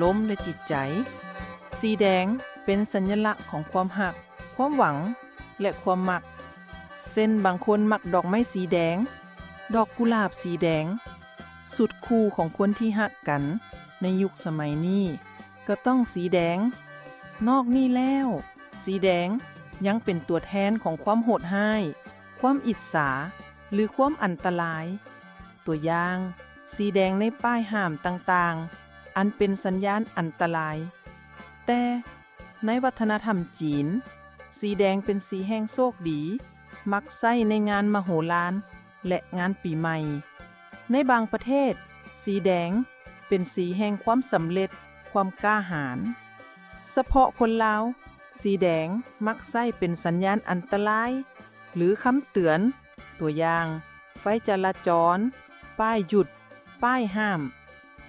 ລົມ ແລະ ຈິດໃຈ. ສີແດງເປັນສັນຍະລັກຂອງຄວາມຮັກ, ຄວາມຫວັງ ແລະ ຄວາມມັກ. ເຊັ່ນ, ບາງຄົນມັກດອກໄມ້ສີແດງ, ດອກກຸຫຼາບສີແດງ. ຊຸດຄູ່ຂອງຄົນທີ່ຮັກກັນໃນຍຸກສະໄໝນີ້ກໍຕ້ອງສີແດງ. ນອກນີ້ແລ້ວ, ສີແດງຍັງເປັນຕົວແທນຂອງຄວາມໂຫດຮ້າຍ, ຄວາມອິດສາ ຫຼື ຄວາມອັນຕະລາຍ. ຕົວຢ່າງ, ສີແດງໃນປ້າຍຫ້າມຕ່າງໆ ອັນເປັນສັນຍານອັນຕະລາຍ. ແຕ່ໃນວັດທະນະທຳຈີນ, ສີແດງເປັນສີແຫ່ງໂຊກດີ, ມັກໃຊ້ໃນງານມະໂຫລານ ແລະ ງານປີໃໝ່. ໃນບາງປະເທດ, ສີແດງເປັນສີແຫ່ງຄວາມສຳເລັດ, ຄວາມກ້າຫານ. ສະເພາະຄົນລາວ, ສີແດງມັກໃຊ້ເປັນສັນຍານອັນຕະລາຍ ຫຼື ຄຳເຕືອນ, ຕົວຢ່າງ, ໄຟຈະລາຈອນ, ປ້າຍຢຸດ, ປ້າຍຫ້າມ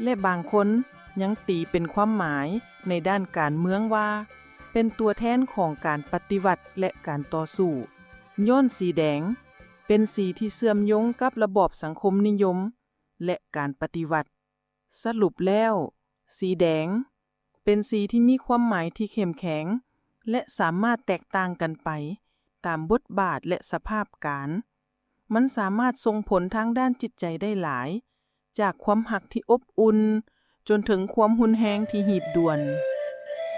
ແລະ ບາງຄົນຍັງຕີເປັນຄວາມໝາຍໃນດ້ານການເມືອງວ່າ ເປັນຕົວແທນຂອງການປະຕິວັດ ແລະ ການຕໍ່ສູ້. ຍ້ອນສີແດງເປັນສີທີ່ເຊື່ອມໂຍງກັບລະບອບສັງຄົມນິຍົມ ແລະ ການປະຕິວັດ. ສະຫຼຸບແລ້ວ, ສີແດງເປັນສີທີ່ມີຄວາມໝາຍທີ່ເຂັ້ມແຂງ ແລະ ສາມາດແຕກຕ່າງກັນໄປຕາມບົດບາດ ແລະ ສະພາບການ. ມັນສາມາດສົ່ງຜົນທາງດ້ານຈິດໃຈໄດ້ຫຼາຍ, ຈາກຄວາມຮັກທີ່ອົບອຸ່ນ ຈົນເຖິງຄວາມຮຸນແຮງທີ່ຮີບດ່ວນ.